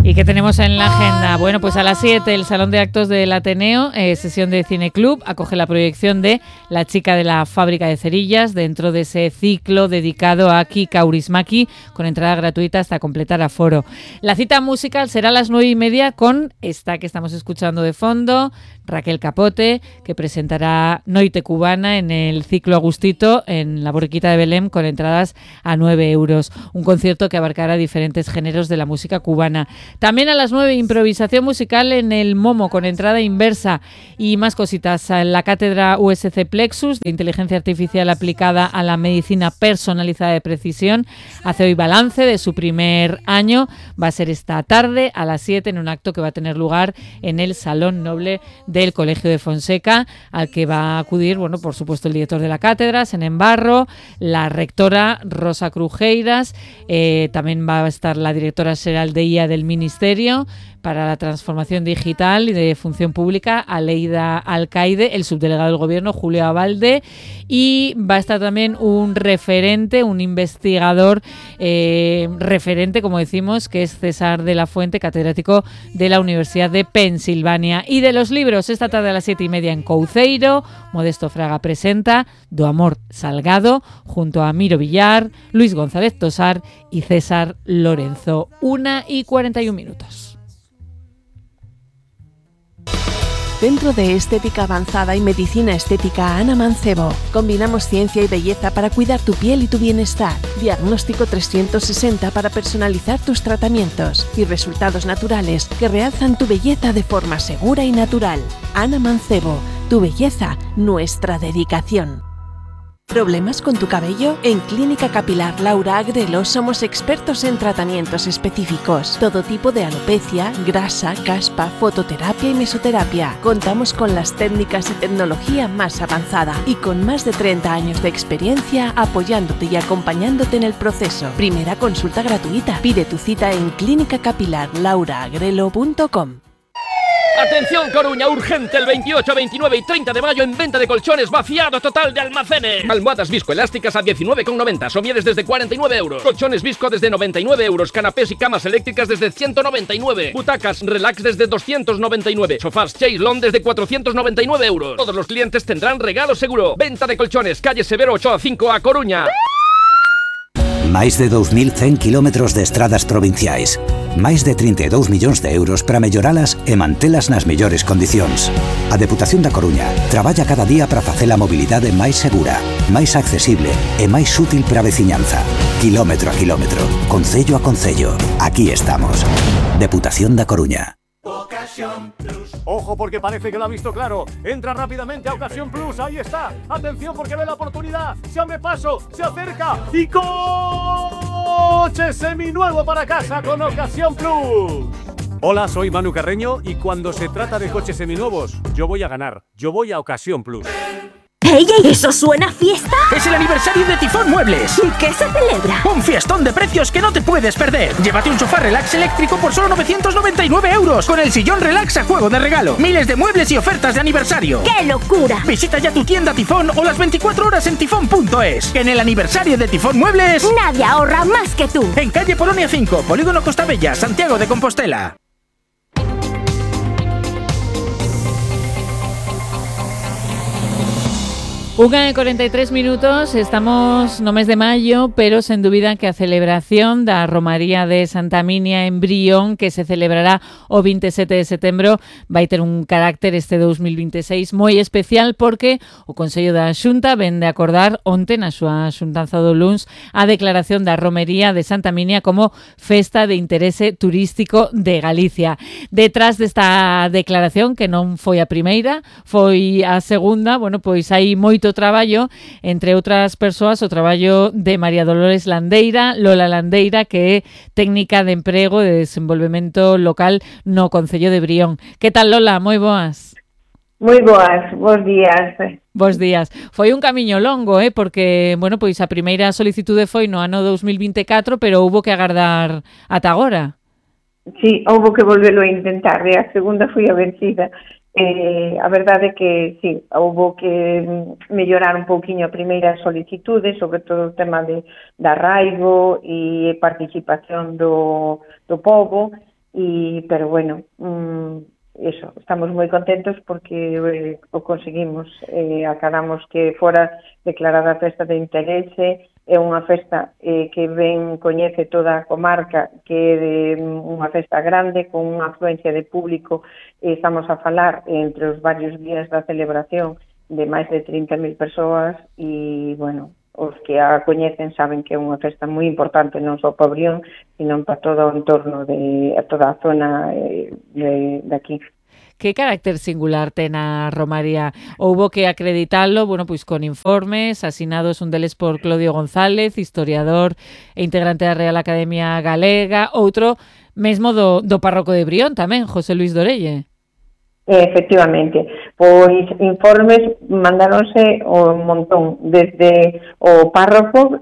¿Y qué tenemos en la agenda? Bueno, pues a las 7 el Salón de Actos del Ateneo, sesión de Cine Club, acoge la proyección de La chica de la fábrica de cerillas dentro de ese ciclo dedicado a Aki Kaurismäki, con entrada gratuita hasta completar aforo. La cita musical será a las 9:30 con esta que estamos escuchando de fondo, Raquel Capote, que presentará Noite Cubana en el ciclo Agustito en la Borriquita de Belém con entradas a 9 euros. Un concierto que abarcará diferentes géneros de la música cubana. También a las 9, improvisación musical en el Momo con entrada inversa y más cositas. La cátedra USC Plexus de inteligencia artificial aplicada a la medicina personalizada de precisión hace hoy balance de su primer año. Va a ser esta tarde a las 7 en un acto que va a tener lugar en el Salón Noble del Colegio de Fonseca, al que va a acudir, bueno, por supuesto, el director de la cátedra, Senén Barro, la rectora Rosa Crujeiras, también va a estar la directora xeral de IA del Ministerio para la Transformación Digital y de Función Pública, Aleida Alcaide, el subdelegado del Gobierno, Julio Abalde, y va a estar también un referente, un investigador referente, como decimos, que es César de la Fuente, catedrático de la Universidad de Pensilvania. Y de los libros, esta tarde a las 7:30 en Couceiro, Modesto Fraga presenta Do Amor Salgado, junto a Miro Villar, Luis González Tosar y César Lorenzo. 1:41. Centro de Estética Avanzada y Medicina Estética Ana Mancebo. Combinamos ciencia y belleza para cuidar tu piel y tu bienestar. Diagnóstico 360 para personalizar tus tratamientos y resultados naturales que realzan tu belleza de forma segura y natural. Ana Mancebo, tu belleza, nuestra dedicación. ¿Problemas con tu cabello? En Clínica Capilar Laura Agrelo somos expertos en tratamientos específicos. Todo tipo de alopecia, grasa, caspa, fototerapia y mesoterapia. Contamos con las técnicas y tecnología más avanzada y con más de 30 años de experiencia apoyándote y acompañándote en el proceso. Primera consulta gratuita. Pide tu cita en clinicacapilarlauraagrelo.com. ¡Atención Coruña! ¡Urgente! El 28, 29 y 30 de mayo en venta de colchones, vaciado total de almacenes. Almohadas viscoelásticas a 19,90, somieres desde 49 euros. Colchones visco desde 99 euros. Canapés y camas eléctricas desde 199. Butacas relax desde 299. Sofás Chaise-Lounge desde 499 euros. Todos los clientes tendrán regalo seguro. Venta de colchones, calle Severo 8A5A, Coruña. Máis de 2.100 kilómetros de estradas provinciais. Máis de 32 millóns de euros para melloralas e mantelas nas mellores condicións. A Deputación da Coruña traballa cada día para facer a mobilidade máis segura, máis accesible e máis útil para a veciñanza. Kilómetro a kilómetro, concello a concello. Aquí estamos. Deputación da Coruña. Ocasión Plus. Ojo, porque parece que lo ha visto claro. Entra rápidamente a Ocasión Plus. Ahí está. Atención, porque ve la oportunidad. Se abre paso, se acerca y coche seminuevo para casa con Ocasión Plus. Hola, soy Manu Carreño y cuando se trata de coches seminuevos, yo voy a ganar. Yo voy a Ocasión Plus. ¡Ey, eso suena a fiesta! ¡Es el aniversario de Tifón Muebles! ¿Y qué se celebra? ¡Un fiestón de precios que no te puedes perder! Llévate un sofá relax eléctrico por solo 999 euros, con el sillón relax a juego de regalo. Miles de muebles y ofertas de aniversario. ¡Qué locura! Visita ya tu tienda Tifón o las 24 horas en tifón.es. Que en el aniversario de Tifón Muebles... nadie ahorra más que tú. En calle Polonia 5, Polígono Costa Bella, Santiago de Compostela. 1:43, estamos no mes de maio, pero sen dúbida que a celebración da Romaría de Santa Minia en Brión, que se celebrará o 27 de setembro, vai ter un carácter este 2026 moi especial, porque o Consello da Xunta ven de acordar onte na súa xuntanza do luns a declaración da Romería de Santa Minia como festa de interese turístico de Galicia. Detrás desta declaración, que non foi a primeira, foi a segunda, bueno, pois hai moito traballo, entre outras persoas o traballo de María Dolores Landeira, Lola Landeira, que é técnica de emprego e de desenvolvemento local no Concello de Brión. Que tal, Lola? Moi boas. Moi boas, bons días. Bos días. Foi un camiño longo, porque, bueno, pois a primeira solicitude foi no ano 2024, pero houbo que agardar ata agora. Sí, houbo que volvelo a intentar, e a segunda foi a vencida. A verdade é que, sí, houbo que mellorar un pouquiño a primeira solicitude, sobre todo o tema de arraigo e participación do povo, pero bueno, eso, estamos moi contentos porque o conseguimos, acabamos que fora declarada festa de interese. É unha festa que ben coñece toda a comarca, que é unha festa grande con unha afluencia de público. Estamos a falar entre os varios días da celebración de máis de 30.000 persoas e, bueno, os que a coñecen saben que é unha festa moi importante non só para Brión, sino para todo o entorno de toda a zona de aquí. Que carácter singular ten a romaría? Houbo que acreditalo, bueno, pois con informes asinados, un deles por Clodio González, historiador e integrante da Real Academia Galega, outro mesmo do párroco de Brión tamén, José Luis Dorelle. Efectivamente, pois informes mandáronse un montón, desde o párroco,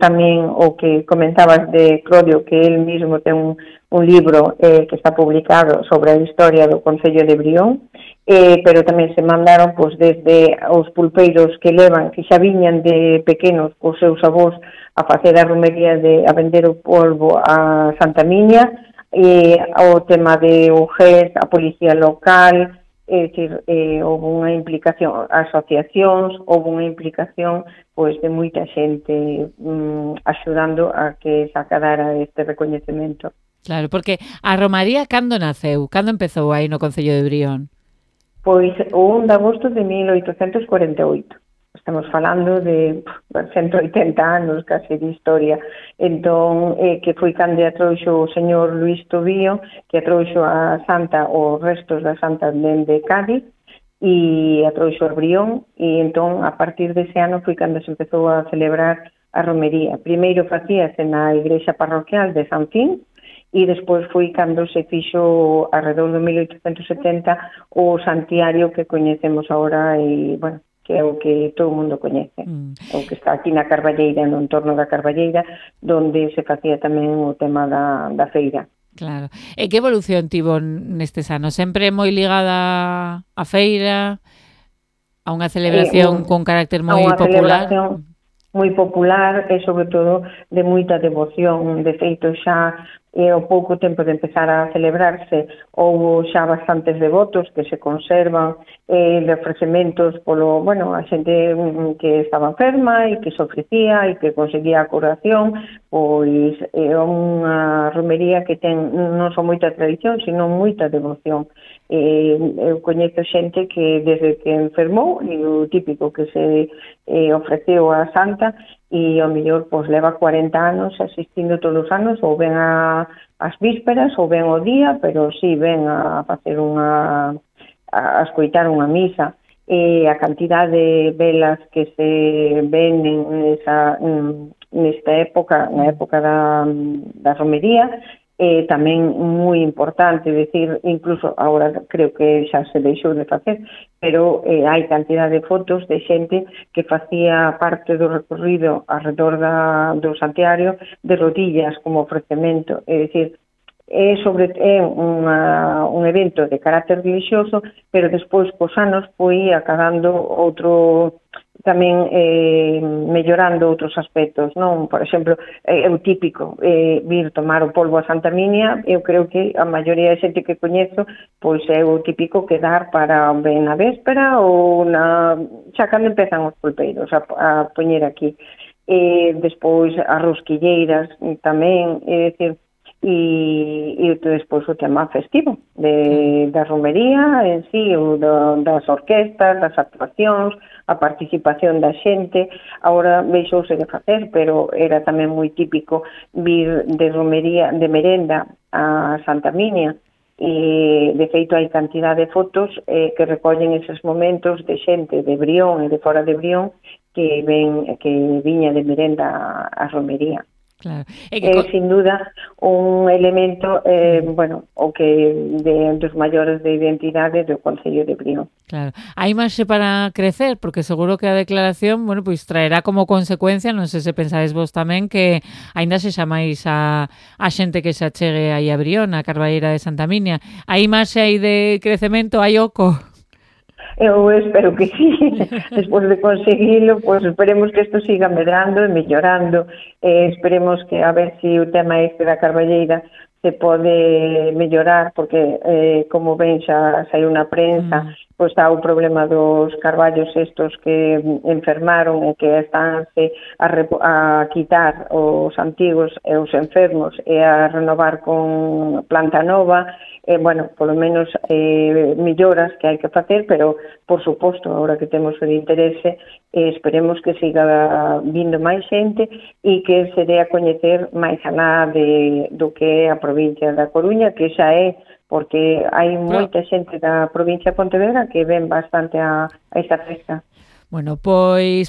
tamén o que comentabas de Clodio, que él mismo ten un libro que está publicado sobre a historia do Concello de Brión, pero tamén se mandaron pois, desde os pulpeiros que levan, que xa viñan de pequenos cos seus avós a facer a romería a vender o polvo a Santa Miña, o tema de UGES, a policía local, é dicir, houve unha implicación, asociacións, houve unha implicación pois de moita xente axudando a que se acadara este recoñecemento. Claro, porque a romaría cando naceu? Cando empezou aí no Concello de Brión? Pois o 1 de agosto de 1848. Estamos falando de 180 anos case de historia. Entón, que foi cando trouxo o señor Luís Tobío, que trouxo a Santa, os restos da Santa dende Cádiz, e a trouxo a Brión, e entón, a partir dese ano, foi cando se empezou a celebrar a romería. Primeiro facíase na igrexa parroquial de San Fin, e despois foi cando se fixo, alrededor de 1870, o santiario que coñecemos agora, e, bueno, que é o que todo o mundo coñece, o que está aquí na Carballeira, no entorno da Carballeira, donde se facía tamén o tema da feira. Claro. E que evolución tivo nestes anos? Sempre moi ligada á feira, a unha celebración con carácter moi popular? Moi popular e, sobre todo, de moita devoción. De feito, xa ao pouco tempo de empezar a celebrarse, houve xa bastantes devotos que se conservan de ofrecementos polo, bueno, a xente que estaba enferma e que se ofrecía e que conseguía a curación, pois é unha romería que ten non só moita tradición, sino moita devoción. Eu coñezo xente que desde que enfermou, e o típico que se ofreceu a Santa, e ao mellor pois leva 40 anos asistindo todos os anos, ou ven as vísperas ou ven o día, pero si ven a facer a escoitar unha misa. E a cantidad de velas que se ven nesta época, na época da romería, tamén moi importante, decir, incluso agora creo que xa se deixou de facer, pero hai cantidad de fotos de xente que facía parte do recorrido alrededor do santuario de rodillas como ofrecemento, é dicir, é un evento de carácter religioso, pero despois cos anos foi acabando outro, tamén mellorando outros aspectos, non? Por exemplo, é o típico vir tomar o polvo a Santa Miña. Eu creo que a maioría de xente que coñezo pois é o típico quedar para ben na véspera ou xa cando empezan os pulpeiros a poñer aquí. Despois as rosquilleiras tamén, é dicir, e despois o tema festivo da romería en sí, das orquestas, das actuacións, a participación da xente. Agora deixouse de facer, pero era tamén moi típico vir de romería, de merenda a Santa Miña, e de feito hai cantidad de fotos que recollen eses momentos de xente de Brión e de fora de Brión que viña de merenda a romería. Claro. Sin duda un elemento bueno, o que dos maiores de identidade do Concello de Brión. Claro. Hai marxe para crecer, porque seguro que a declaración, bueno, pois traerá como consecuencia, non sei se pensades vos tamén, que aínda se xa máis a xente que se achegue aí a Brión, a Carballeira de Santa Miña. Hai marxe aí de crecemento, hai oco? Eu espero que sí. Despois de conseguilo, pues esperemos que isto siga medrando e mellorando. Esperemos que a ver se o tema este da Carballeira se pode mellorar, porque como ven xa saiu na prensa, pois está o problema dos carballos estos que enfermaron e que estánse a quitar os antigos e os enfermos e a renovar con planta nova, bueno, polo menos melloras que hai que facer, pero por suposto, agora que temos o interese, esperemos que siga vindo máis xente e que se dé a coñecer máis alá do que é a provincia da Coruña, que xa é, porque hai moita xente da provincia de Pontevedra que ven bastante a esta festa. Bueno, pois